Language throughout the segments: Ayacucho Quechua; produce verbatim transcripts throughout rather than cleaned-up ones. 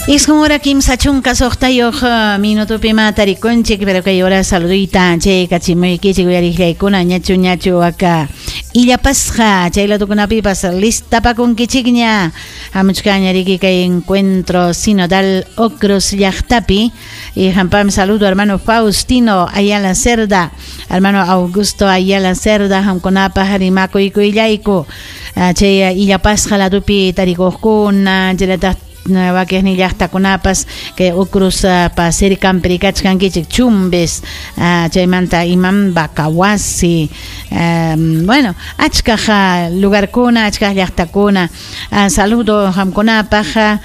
Isqun hora kimsa chunka suqtayuq minutopi matarikunchik, pero kay hora saludita chay kachimuykichik uyariqllaykuna ñachu ñachu waka illapasqa chay latukunapipas listapakunkichikña hamuchkaña riki kay encuentro sinodal Ocros llaqtapi y hampam saludo hermano Faustino Ayala Cerda, hermano Augusto Ayala Cerda, hamkunapaq rimakuykuyallayku chay illapasqa latupi tarikuqkuna chaynataq wakiqnin llaqtakunapas kay Ucrus pa cercanpi kachkankichik Chumbes chaymanta imam Bacawasi, bueno, achkaq lugarkuna, achkaq llaqtakuna. Saludo hamkunapaq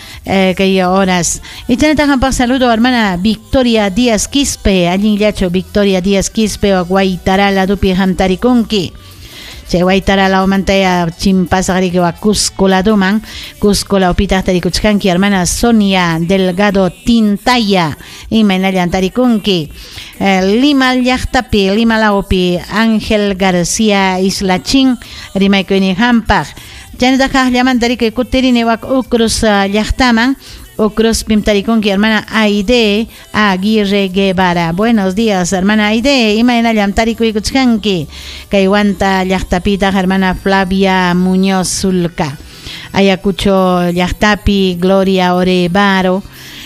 kay horas y chaynataq hampaq saludo hermana Victoria Díaz Quispe, allinllachu Victoria Díaz Quispe Guaytara ladupi hamtarikunki. Chay Guaytara lawmantaya chimpasaqriki wa Cusco laduman, Cusco lawpitaq tarikuchkanki hermana Sonia Delgado Tintaya, imaynallan tarikunki. Lima llaqtapi, Lima lawpi Ángel García Islachín rimaykuynin hampaq. Chaynataq kaqllamanta riki kutirini wak Ucrus llaqtaman, Ucrus pim tarikunki hermana Aide Aguirre Guevara. Buenos días, hermana Aide, imaynallam tarikuykuchkanki. Kay Huanta llaqtapitaq hermana Flavia Muñoz Zulca. Ayacucho llaqtapi Gloria Orevaro.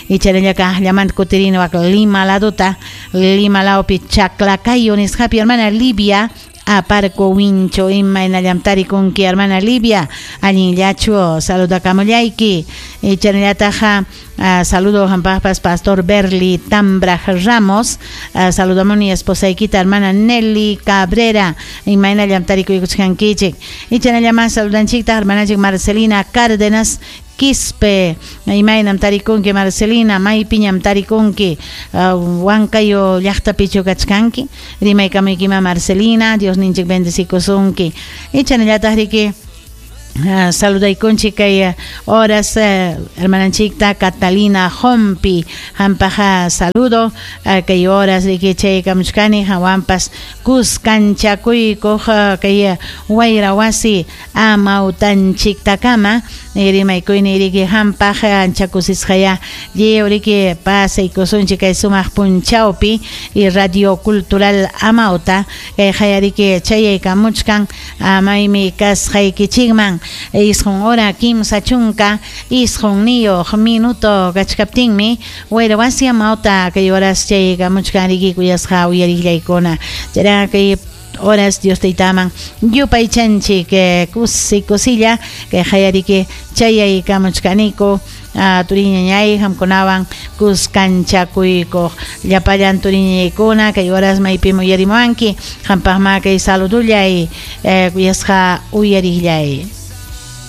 Y chaynalla kaqllamanta kutirini wak Lima laduta, Lima lawpi Chaclacayo nisqapi hermana Livia Aparco Wincho, imaynallam tarikunki hermana Livia, allinllachu saludakamullayki. Y chaynallataq saludo hampaqpas pastor Berli Tambraj Ramos, saludamuni esposaykita hermana Nelly Cabrera, imaynallam tarikuykuchkankichik. Y chaynallaman saludanchiktaq hermananchik Marcelina Cárdenas Quispe, imaynam tarikunki Marcelina, maypiñam tarikunki, Huancayo llaqtapichu kachkanki, rimaykamuykima Marcelina, Dios ninchik bendecikusunki. Y chaynallataq riki saludaykunchik kay horas hermananchikta Catalina Jompi, hampaqa saludo kay horas riki chaykamuchkani hawanpas kuskanchakuykuq kay wayra wasi amawtanchiktakama rimaykuyni riki hampaq ancha kusisqaya lliw riki pasaykusunchik kay sumaq punchawpi y Radio Cultural Amauta kay qayariki chayaykamuchkan maymi kasqaykichikman. Isqun hora kimsa chunka isqunniyuq minuto kachkaptinmi wayra wasi amawta kay horas chayaykamuchkan riki kuyasqa uyariqllaykuna. Chayra kay horas Dios taytaman yupaychanchik kusi kusilla kay qayariki chayaykamuchkaniku turiñañay hamkunawan kuskanchakuykuq llapallan turiñañaykuna kay horas maypim uyarimuwanki hampaqma kay saludullay kuyasqa uyariqllay.